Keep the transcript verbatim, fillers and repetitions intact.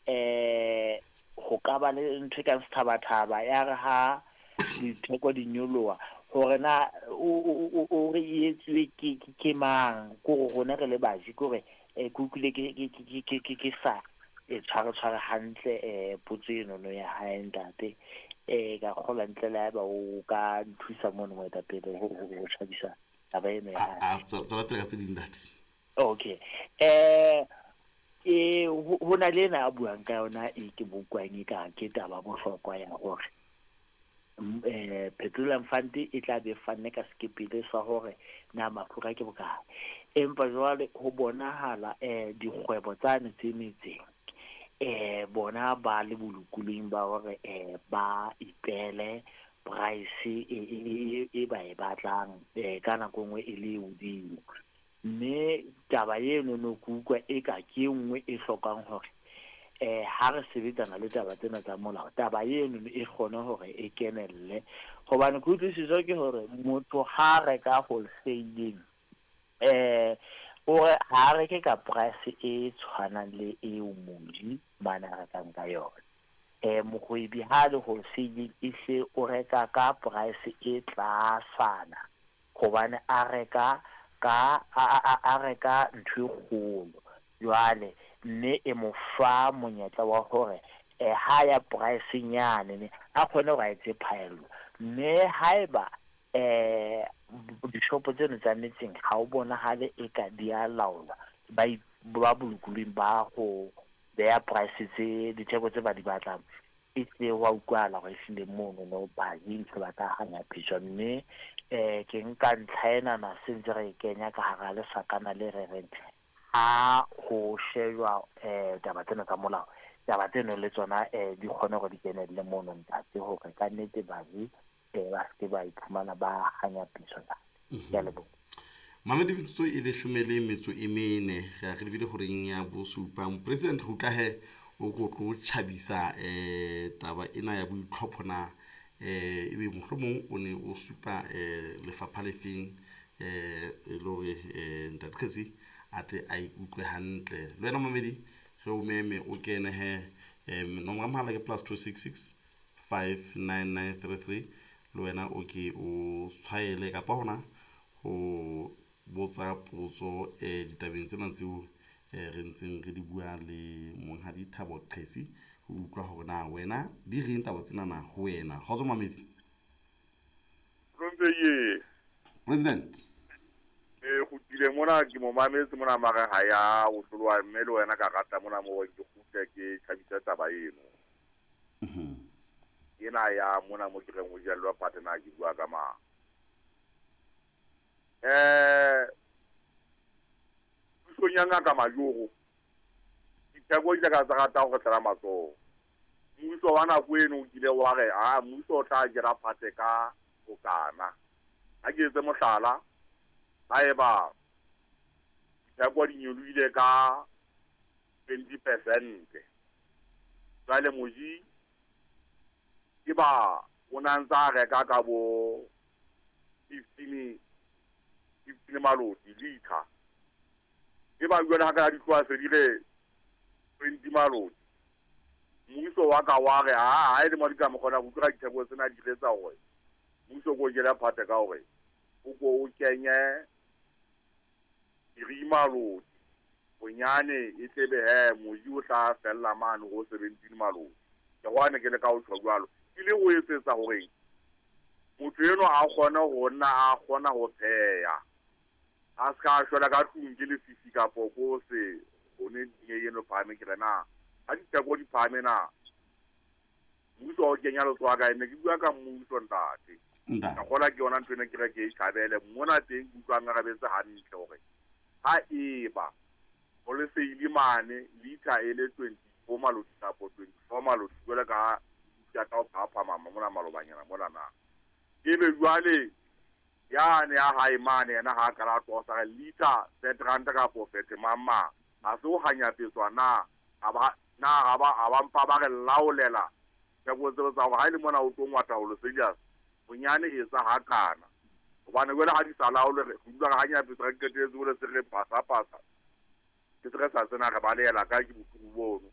eh ho ka ba le ntho e kang sethabathaba ya re ha ditheko di nyoloha hore na o o re etsuwe ke ke mang ko rona re le baji kore ke utlwile ke ke ke ke sa e tshware tshware hantle eh potso eno no ya hae ntate eh ka kgola ntle le haeba o ka nthusa mono moetapele ho ho tjhabisa taba eno ya hae. A tswela pele ka tse ding ntate. Okay, eh e ho na le ena a buang ka yona e ke bokwang e ka ke taba bohlokwa ya hore eh Petroleum Fund e tla be fanne ka sekepele sa hore na mafura ke bokae, empa jwale ho bonahala eh dikgwebo tsane tse metseng eh bona ba le bolokolohing ba hore eh ba ipele price e e ba e batlang eh ka nako nngwe e le hodimo, mme taba eno no kutlwa e ka ke nngwe e hlokang hore eh ha re sebetsana le taba tsena tsa molao taba eno e kgone hore e kenelle, hobane kutlwisiso ke hore motho ha reka wholesaling eh o re ha reke ka price e tshwanang le eo moji mane a rekang ka yona. Eh mohwebi ha le wholesaling e hle o reka ka price e tlasana hobane a reka ka a reka ntho e kgolo jwale, mme e mo fa monyetla wa hore eh ha ya price nyane ne a kgone hore a etse phaello, mme haeba eh dishopo tseno tsa metseng ha o bonahale e ka di a laolwa ba ba bolokolohing ba ho beha price tse ditheko tse ba di batlang e tle wa utlwahala hore ehlile mono no baji ntho ba tla hanyapetswa, mme eh ke nka ntlha enana se ntse re e kenya ka hara lesakana le re reng ha ho shejwa eh taba tsena tsa molao taba tseno le tsona eh di kgone hore di kenelle mono ntate hore ka nnete baji eh ba se ba iphumana ba hanyapiswa. Ke a leboha. Mamedi metsotso e leshome le metso e mene re a re lebile horeng ya bosupa. President ho tla he o ko tlo tjhabisa eh taba ena ya boitlhopho na eh ebe mohlomong o ne o supa eh lefapha le feng eh e le hore eh ntate Kgetsi a tle a ikutlwe hantle. Le wena mamedi re o meme o kene he eh nomoro ya mohala ke plus two six six five nine nine three three le wena o ke o tshwaele kapa hona ho botsa potso eh ditabeng tsena tseo eh re ntseng re di bua le monghadi Thabo Qhesi ho utlwa hore na wena di reng taba tsena na ho wena. Kgotso mamedi. President e kgutlile mona ke mo mametse mona mare ha ya o hlolwa mme le wena ka rata mona mo ke kgutle ke tjhabisa taba eno. Mhm. Ena ya mona mo ke reng o jellwa partner ke bua ka mang. Eh pusong ya ngaka Majoro ditheko di ka tsa rata ho tlela matsoho. Mmuso wa nako eno o kile wa re a mmuso o tla jela phate ka bokana. Ha ke etse mohlala haeba ditheko di nyolohile ka twenty percent jwale moji ke ba o na ntsa reka ka bo fifteen fifteen maloti liter e ba jwale ha ka di tloha se di le twenty maloti mmuso wa ka wa re ha ha e le mo di ka mo kgona go utlwa ditheko tsena di letsa hore mmuso ko jela phate ka hore o ko o kenye three maloti bonyane e tlebe he moji o tla fella mane go seventeen maloti ke gwane ke le ka o tjho jwalo ke le o etsetsa hore motho eno a kgone ho nna a kgona ho pheha a ska shwela ka tlung ke lefifi kapo ko se hone dinye eno phahame ke re na ha ditheko di phahame na mmuso o kenya letsoho kae ne ke bua ka mmuso ntate ka kgola ke yona ntho ena ke re ke e thabele mona teng ke utlwang arabetse hantle hore ha eba wholesale mane liter e le twenty-four maloti kapo twenty-four maloti jwale ka ya ka o phaphama mona malobanyana mona na ebe jwale yane ya hae mane yena ha ka la tosa liter thirty rand kapo thirty mama ha se o hanyapetswa na aba na aba aba mpa ba re laolela theko tseo tsa hore ha ile mona o tlo ngwata ho serious bonyane e sa hakana hobane jwale ha di sa laole re dula re hanyapetswa re qetelletse hore se re pasa pasa ke se re sa tsena re balehela ka ke bohloko bono.